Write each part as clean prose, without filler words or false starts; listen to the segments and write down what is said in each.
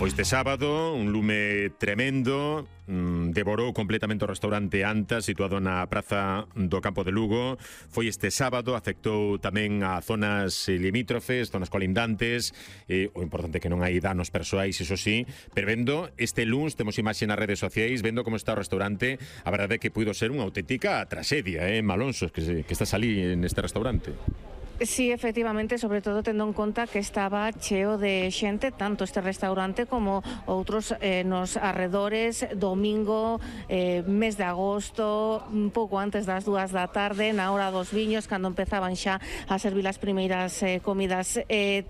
Foi este sábado, un lume tremendo, devorou completamente o restaurante Antas, situado na praza do Campo de Lugo. Foi este sábado, afectou tamén a zonas limítrofes, zonas colindantes, o importante é que non hai danos persoais, iso sí, pero vendo este luns, temos imaxe nas redes sociais, vendo como está o restaurante, a verdade é que puido ser unha auténtica traxedia, Malonso, que estás ali neste restaurante. Sí, efectivamente, sobre todo tendo en conta que estaba cheo de xente, tanto este restaurante como outros nos arredores, domingo, mes de agosto, un pouco antes das 2 da tarde, na hora dos viños, cando empezaban xa a servir as primeiras comidas.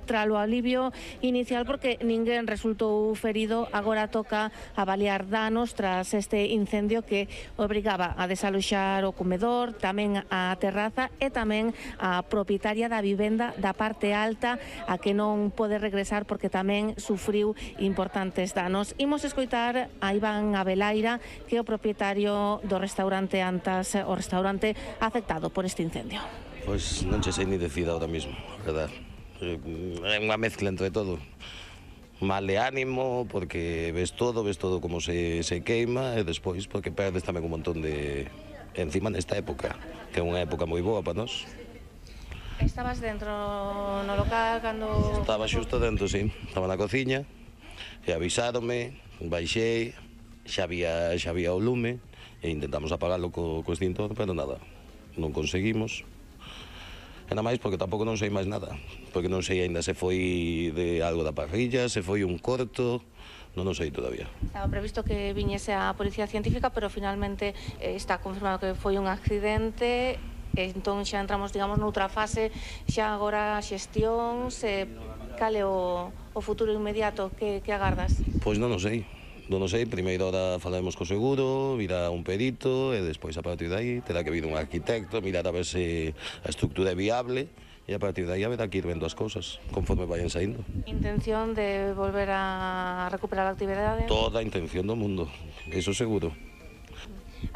Tralo alivio inicial, porque ninguén resultou ferido, agora toca avaliar danos tras este incendio que obrigaba a desaloxar o comedor, tamén a terraza e tamén a propietaria da vivenda da parte alta, a que non pode regresar porque tamén sufriu importantes danos. Imos escoitar a Iván Abelaira, que é o propietario do restaurante Antas, o restaurante afectado por este incendio. Pois non che sei ni decir ahora mismo, verdad. É unha mezcla entre todo. Mal de ánimo, porque ves todo como se queima, e despois porque perdes tamén un montón de... encima nesta época, que é unha época moi boa para nós. Estabas dentro no local cando... Estaba xusto dentro, sí. Estaba na cociña e avisáronme, baixei, xa había o lume e intentamos apagalo co extintor, pero nada, non conseguimos. E nada máis porque tampouco non sei máis nada, porque non sei aínda se foi de algo da parrilla, se foi un corto, non o sei todavía. Estaba previsto que viñese a Policía Científica, pero finalmente está confirmado que foi un accidente. Entón xa entramos, digamos, noutra fase, xa agora xestións, cal é o futuro inmediato que agardas? Pois non o sei, primeiro hora falaremos co seguro, virá un perito e despois a partir de aí terá que vir un arquitecto, mirar a ver se a estructura é viable e a partir de aí haberá que ir vendo as cousas conforme vayan saindo. Intención de volver a recuperar a actividade? Toda a intención do mundo, eso seguro.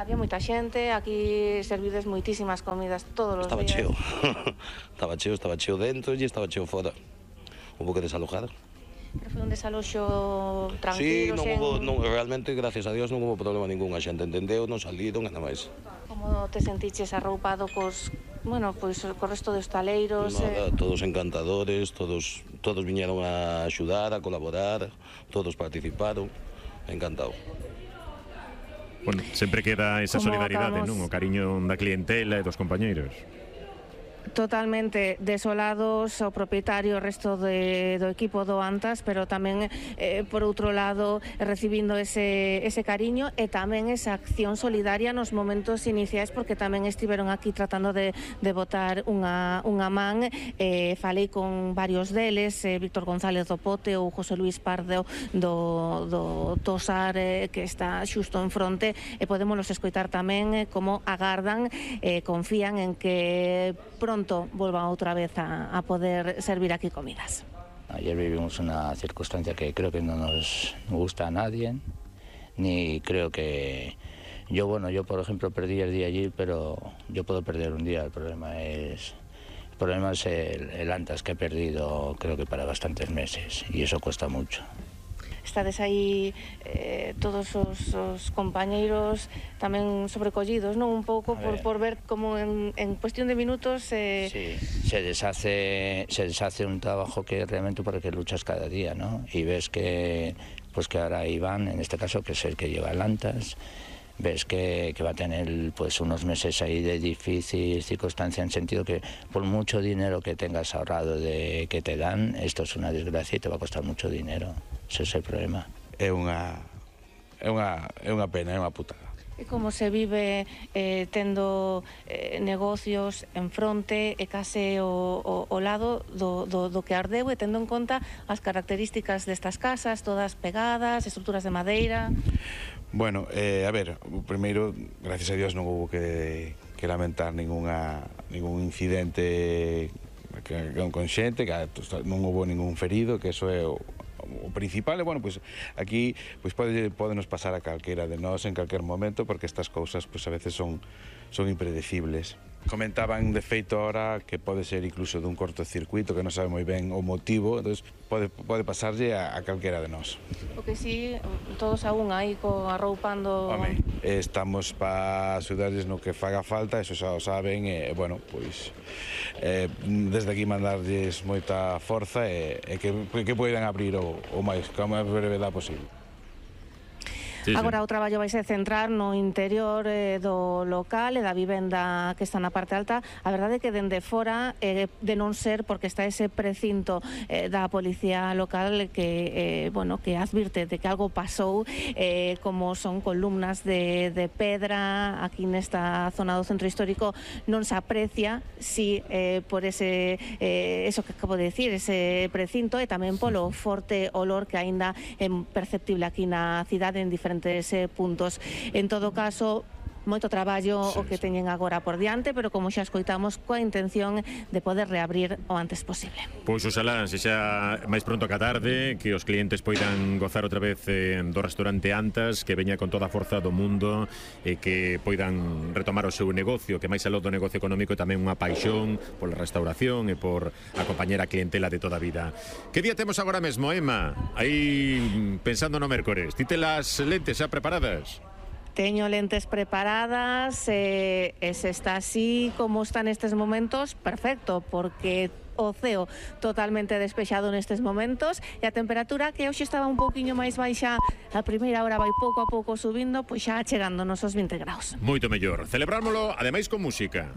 Había moita xente, aquí servides moitísimas comidas todos os días. Estaba cheo dentro e estaba cheo fora. Hubo que desalojar. Pero foi un desaloxo tranquilo? Sí, realmente, gracias a Dios, non hubo problema ningún. A xente entendeu, non saliron, nada máis. Como te sentiches arroupado cos resto dos taleiros? Nada, todos encantadores, todos viñeron a axudar, a colaborar, todos participaron, encantado. Bueno, sempre queda esa solidaridade, non? O cariño da clientela e dos compañeiros. Totalmente desolados o propietario, o resto do equipo do Antas, pero tamén, por outro lado, recibindo ese cariño e tamén esa acción solidaria nos momentos iniciais, porque tamén estiveron aquí tratando de botar unha man. Falei con varios deles, Víctor González do Pote ou José Luis Pardo do Tosar, que está xusto en fronte, e podémonos escoitar tamén como agardan, confían en que pronto vuelvan otra vez a poder servir aquí comidas. Ayer vivimos una circunstancia que creo que no nos gusta a nadie, ni creo que... Yo por ejemplo perdí el día allí, pero yo puedo perder un día. El problema es el Antas, que he perdido creo que para bastantes meses, y eso cuesta mucho. Estades aí todos os compañeiros tamén sobrecollidos, non? Un pouco por ver como en cuestión de minutos... Sí, se deshace un trabajo que realmente por el que luchas cada día, ¿no? Y ves que ahora Iván, en este caso, que es el que lleva el Antas, ves que va a tener pues unos meses ahí de difícil circunstancia, en sentido que por mucho dinero que tengas ahorrado que te dan, esto es una desgracia y te va a costar mucho dinero. Ese es el problema. É unha pena, é unha putada. E como se vive tendo negocios en fronte e case o lado do que ardeu, e tendo en conta as características destas casas, todas pegadas, estruturas de madeira? Bueno, a ver, primeiro, gracias a Dios non houve que lamentar ningún incidente con xente, que non houve ningún ferido, que eso é o principal. E bueno, pues aquí pues podenos pasar a calquera de nós en calquer momento, porque estas cousas pues a veces son impredecibles. Comentaban de feito ahora que pode ser incluso dun cortocircuito que non sabe moi ben o motivo, entonces pode pasarlle a calquera de nós. O que sí, todos aún aí arroupando... Home, estamos para axudarles no que faga falta, eso xa o saben, e, bueno, pois desde aquí mandarlles moita forza e que poidan abrir o máis brevedade posible. Sí, Agora o traballo vai se centrar no interior do local e da vivenda que está na parte alta. A verdade é que dende fora, de non ser porque está ese precinto da policía local que que advirte de que algo pasou, como son columnas de pedra aquí nesta zona do centro histórico, non se aprecia si por ese eso que acabo de decir, ese precinto, e tamén polo forte olor que aínda é perceptible aquí na cidade en diferentes puntos. En todo caso, moito traballo o que teñen agora por diante, pero como xa escoitamos, coa intención de poder reabrir o antes posible. Pois oxalá, se xa máis pronto que a tarde, que os clientes poidan gozar outra vez do restaurante Antas, que veña con toda a forza do mundo e que poidan retomar o seu negocio, que máis aló do negocio económico é tamén unha paixón pola restauración e por acompañar a clientela de toda a vida. Que día temos agora mesmo, Emma? Aí pensando no mércores, ti te las lentes xa preparadas? Teño lentes preparadas, se está así como está nestes momentos, perfecto, porque o ceo totalmente despexado nestes momentos e a temperatura que hoxe estaba un pouquiño máis baixa, a primeira hora vai pouco a pouco subindo, pois xa chegando nos 20 graus. Moito mellor. Celebrámoslo, ademais, con música.